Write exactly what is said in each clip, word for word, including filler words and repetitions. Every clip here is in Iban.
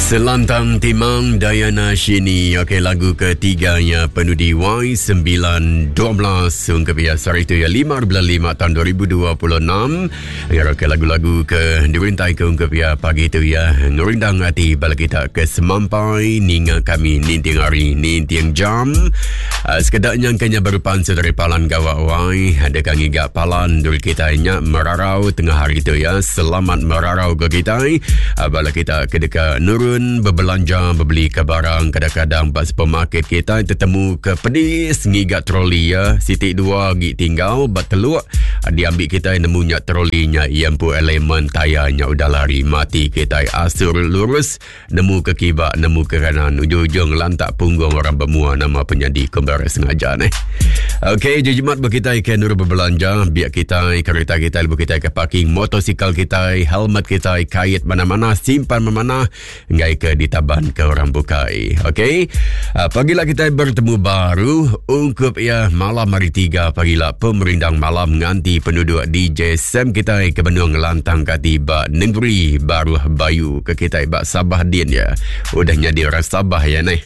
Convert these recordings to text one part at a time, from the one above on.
Selantang Timang Diana Shini. Okey, lagu ketiganya penudi Y sembilan dua belas ungkap biasa itu ya lima bulan lima tahun dua ribu dua puluh enam. Ya, okey, lagu-lagu ke dirintai ke ungkap ya pagi itu ya ngerindang hati bala kita ke semampai ninga kami ninting hari ninting jam. Uh, sekedaknya kenya berpansu dari palan gawak Y ada kang iga palan dul kita nya merarau tengah hari itu ya. Selamat merarau ke kita. Uh, bala kita ke deka nurun berbelanja, berbeli ke barang, kadang-kadang pas supermarket kita tertemu ke pedis ngigat troli ya, sitik dua gi tinggal bat teluk diambil kita nemunya trolinya yang pu elemen tayarnya udah lari mati kita asur lurus nemu ke kibak nemu ke kanan ujung-ujung lantak punggung orang bermua nama penyadi kembar sengaja ni. Okey, jimat berkita ke nur berbelanja biar kita kereta kita lebu kita ke parking motosikal kita helmet kita kait mana-mana simpan mana-mana ngai ke ditaban ke orang bukai. Okey. Uh, pagilah kita bertemu baru ungkup ya malam hari tiga pagilah pemerindang malam nganti penduduk D J Sam kita ke Benung Lantang kati ba negeri Baruh Bayu ke kita ba Sabah din ya. Udah nyadi orang Sabah ya ni.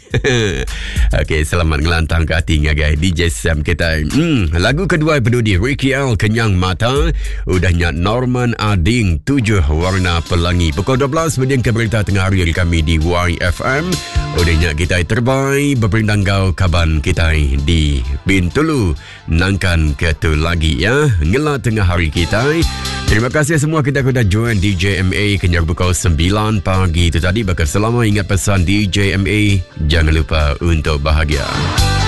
Okey, selamat ngelantang kati ngagai D J Sam kita. Hmm, lagu kedua penduduk Ricky L Kenyang Mata, udahnya Norman Ading Tujuh Warna Pelangi. Pukul dua belas kemudian ke berita tengah hari kami di Y F M. Udahnya kita terbaik berperindang gau kaban kita di Bintulu nangkan ketu lagi ya ngela tengah hari kita. Terima kasih semua kita sudah join D J M A kenyar pukul sembilan pagi itu tadi. Bakal selama ingat pesan D J M A, jangan lupa untuk bahagia.